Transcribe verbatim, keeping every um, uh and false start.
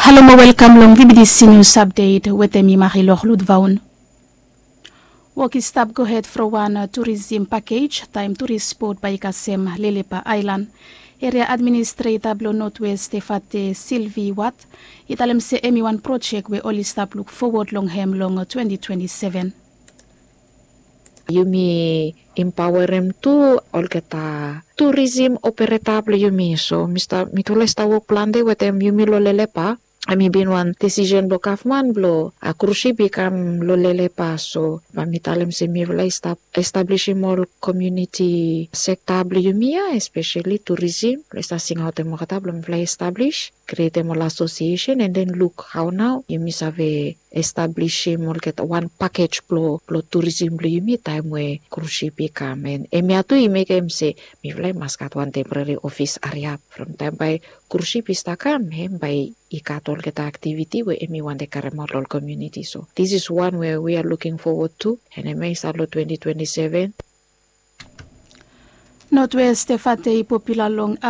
Halo mo welkam long vibidisi nius apdet wetem mi Marilor Ludvaun. Wok i stap gohed from wan turisim pakej taem turis bot bae i kasem Lelepa aelan. Eria administreta blong Notwest Tefate Silvi Wat i talem se hem i wan projek we oli stap luk fowod long hem long twenti twenti seven. Yumi impaoerem tu olgeta turisim opereta blong yumi. So mitufala i stap wok plante wetem yumi long Lelepa. Hem i bin wan disisen blong gavman blong krusip i kam long Lelepa. So bae mi talem se mifala i stap establisim ol komuniti sekta blong yumi ya, espeseli turisim, blong i stap singaotem olgeta blong mifala i establis, krietem ol asosiesen, and then luk hao nao yumi save establisim olgeta wan pakej blong turisim blong yumi taem we krusip i kam. And hemia tu i mekem se mifala i mas gat wan temporeri ofis ariap from taem bae krusip i stap kam, hem bae i gat olgeta aktiviti we hem i wantem karemaot long ol komuniti. So this is one we we are looking forward to, and hemia i stap long twenti twenti seven. Notwest Tefate i popula long